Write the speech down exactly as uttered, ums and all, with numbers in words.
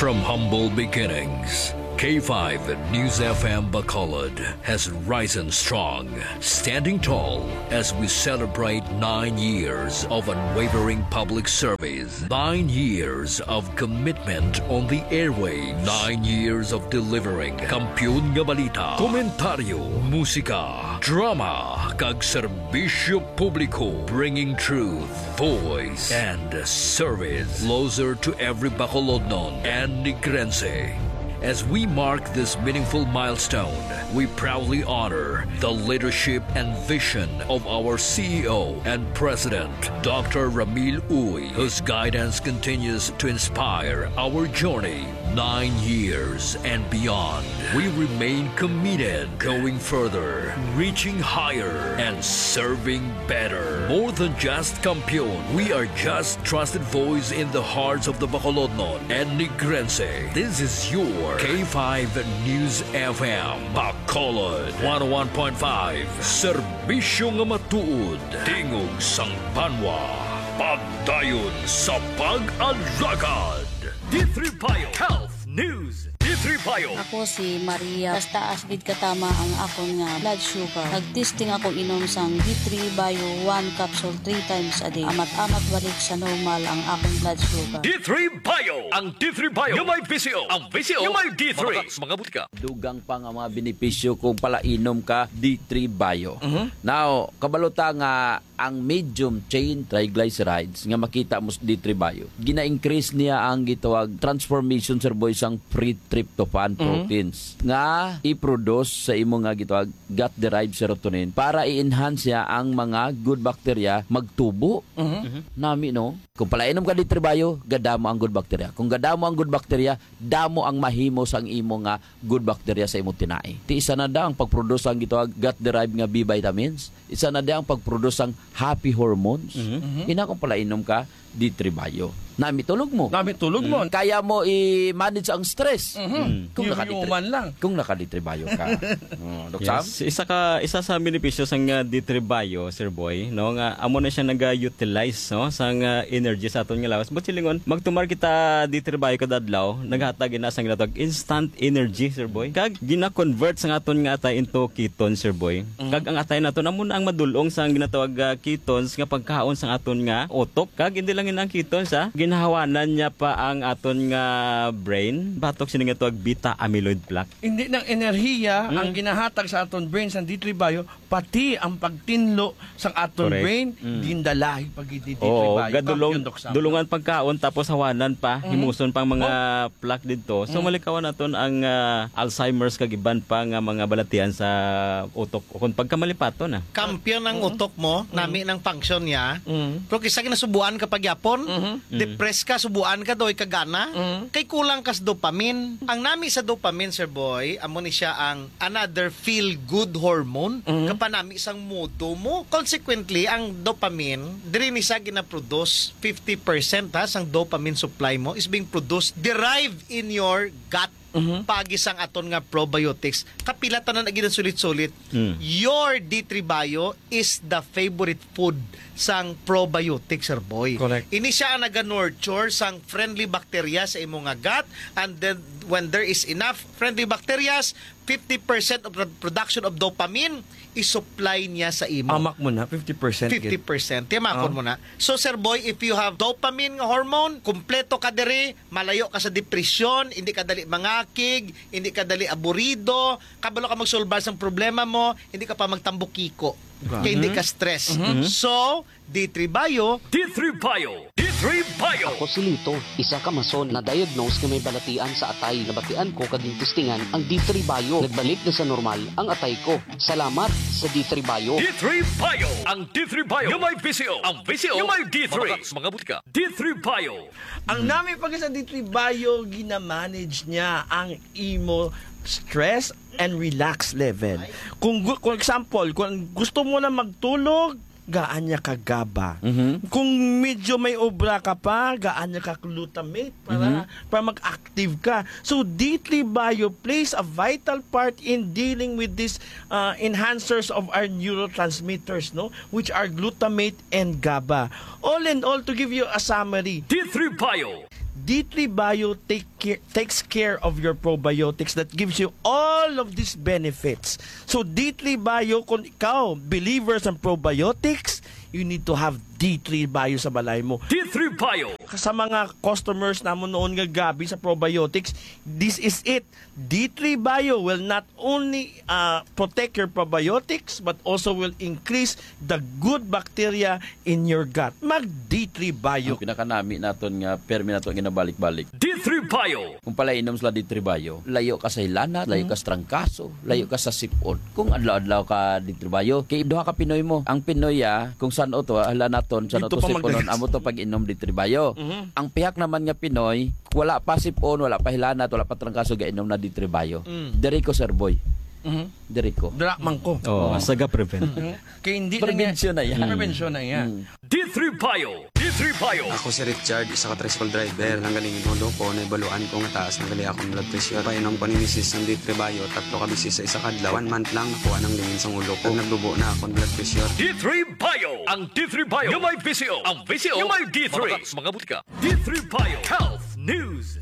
From humble beginnings, K five News F M Bacolod has risen strong, standing tall as we celebrate nine years of unwavering public service, nine years of commitment on the airwaves, nine years of delivering kampiyon nga balita, komentaryo, musika, drama, kag serbisyo publiko, bringing truth, voice, and service closer to every Bacolodnon and Negrense. As we mark this meaningful milestone, we proudly honor the leadership and vision of our C E O and President, Doctor Ramil Uy, whose guidance continues to inspire our journey nine years and beyond. We remain committed, going further, reaching higher, and serving better. More than just kampiyon, we are just trusted voice in the hearts of the Bacolodnon and Negrense. This is your K five News F M, Bacolod, one oh one point five. Serbisyo nga matuod, tingog sang banwa, pagdayon sa pag-alagad. D three Bio Health News. D three Bio. Ako si Maria. Taas-taas gid katama ang akon nga blood sugar. Nag-testing ako inom sang D three Bio one capsule three times a day. Amat-amat balik sa normal ang akon blood sugar. D three Bio. Ang D three Bio nga may V C O. Ang V C O nga may D three. Mabakak sa mga butika. Dugang pa nga mga benepisyo kung palainom ka D three Bio. Mhm. Now, kabalo ta nga ang medium chain triglycerides nga makita mo sa D three Bio, gina-increase niya ang gitawag transformation, sir boy, sang free tryptophan Mhm. proteins nga i-produce sa imo nga gitawag gut-derived serotonin para i-enhance niya ang mga good bacteria magtubo. Mhm. Nami, no? Kung palainom ka D three Bio, gadamo ang good bacteria. Kung gadamo ang good bacteria, damo ang mahimo sang imo nga good bacteria sa imong tinai. Ti isa na da ang pag-produce ang gitawag gut-derived nga B vitamins. Isa na da ang pag-produce sang happy hormones. Mhm. Mhm. Ina kung palainom ka, D three Bio. Nami tulog mo. Nami tulog mo. Mm. Kaya mo i-manage ang stress. Mhm. Mm. Kung naka-D three, Human lang. Kung naka-D three Bio ka. Oh, Doc Sam? Yes, isa ka, isa sa benepisyo sang, uh, D three Bio, Sir Boy, no, nga amo na siya naga-utilize, no, sang, uh, energy sa aton nga lawas. But silingon, magtumar kita D three Bio kada adlaw, naghatag ina sang ginatawag instant energy, Sir Boy. Kag gina-convert sang aton nga atay into ketone, Sir Boy. Mm. Kag ang atay naton amo na ang madul-ong sang ginatawag, ah, ketones nga pagkaon sang aton nga utok. Kag hindi lang yun ang ketones, ha. Ginahawanan niya pa ang aton nga brain batok sini nga tawag beta amyloid plaque. Hindi nang enerhiya ang Mm. ginahatag sa aton brain sa D three Bio, pati ang pagtinlo sa aton Correct. brain, Mm. gindalahi pa gid ni D three Oo, Bio. gadulong-, Kampiyon, Doc Sam. dulungan pagkaon tapos hawanan pa, Mhm. himuson pang mga Oh. plaque didto. So, Mm. malikawan naton ang, ah, Alzheimer's kag iban pa nga mga balatian sa utok o kung pagkamalipaton na. Kampiyon ang Mm. utok mo, Mm. nami ng function niya. Mm. Pero kisa ginasubuan ka pagyapon, Mhm. Mm. depressed ka, subuan ka, doy ka gana. Mm. Kay kulang ka sa dopamine. Ang nami sa dopamine, Sir Boy, amo ni siya ang another feel-good hormone. Mm. Kapanami sang mudo mo. Consequently, ang dopamine, diri ni siya ginaproduce. Fifty percent, ha, sang dopamine supply mo is being produced, derived in your gut. Mhm. Pagi sang aton nga probiotics. Kapila tanan na gid ang sulit-sulit. Mm. Your D three Bio is the favorite food sang probiotics, Sir Boy. Correct. Ini siya ang naga-nurture sang friendly bacteria sa imo nga gut, and then when there is enough friendly bacterias, fifty percent of the production of dopamine, i-supply niya sa imo. Amak mo na, fifty percent gid. Fifty percent. Tiyamakon Oh. mo na. So, Sir Boy, if you have dopamine nga hormone, kompleto ka diri, malayo ka sa depresyon, hindi ka dali mangakig, hindi ka dali aburido, kabalo ka magsolbar sang problema mo, hindi ka pa magtambukiko. Grabe. Kay hindi ka stress. Mhm. So, D three Bio. D three Bio. D three Bio. Ako si Lito, isa ka mason na diagnose nga may balatian sa atay. Nabatian ko kag gintistingan ang D three Bio. Nagbalik na sa normal ang atay ko. Salamat sa D three Bio. D three Bio. Ang D three Bio nga may V C O. Ang V C O nga may D three. Mabakak sa mga butika. D three Bio. Ang nami pa sa D three Bio, ginamanage niya ang imo stress and relax level. Kung gu-, kung example, kung gusto mo na magtulog, gaan niya ka gaba. Mhm. Kung medyo may obra ka pa, gaan niya ka glutamate para, Mhm. para mag-active ka. So, D three Bio plays a vital part in dealing with these, uh, enhancers of our neurotransmitters, no? Which are glutamate and gaba. All in all, to give you a summary, D three Bio. D three Bio take care, takes care of your probiotics that gives you all of these benefits. So D three Bio, kung ikaw believer sa probiotics, you need to have D three Bio sa balay mo. D three Bio. Sa mga customers namon noon nga grabe sa probiotics, this is it. D three Bio will not only uh, protect your probiotics but also will increase the good bacteria in your gut. Mag D three Bio. Ang pinakanami naton nga permi nato ginabalik-balik. D three Bio. Kung pala inom sila D three Bio, layo ka sa hilanat, layo ka sa trangkaso, layo ka sa sipon. Kung adlaw-adlaw ka D three Bio, kay duha ka Pinoy mo. Ang Pinoy, ah, kung san-o to, ah, hilanaton, san-o Dito to pa siponon, magdagit. Amo to pag-inom D three Bio. Mhm. Ang pihak naman nga Pinoy, wala pa sipon, wala pa hilanat, wala pa trangkaso, gainom na D three Bio. Mm. Diri ko, Sir Boy. Mhm. Diri ko. Dira man ko. Oh, Oo. Saga prevent. Mhm. Kay hindi na niya Prevention na yan. Prevention na yan. Mm. D three Bio. D three Bio. Ako si Richard, isa ka tricycle driver. Nanggaling ang ulo ko, naibaluan ko nga taas na gali akong blood pressure. Painom ko ni misis ng D three Bio, tatlo ka bisis sa isa ka adlaw. One month lang, nakuha ng lingin sang ulo ko. Nagdubo na akong blood pressure. D three Bio. Ang D three Bio nga may V C O. Ang V C O nga may D three. Mabakas mga butika. D three Bio Health News.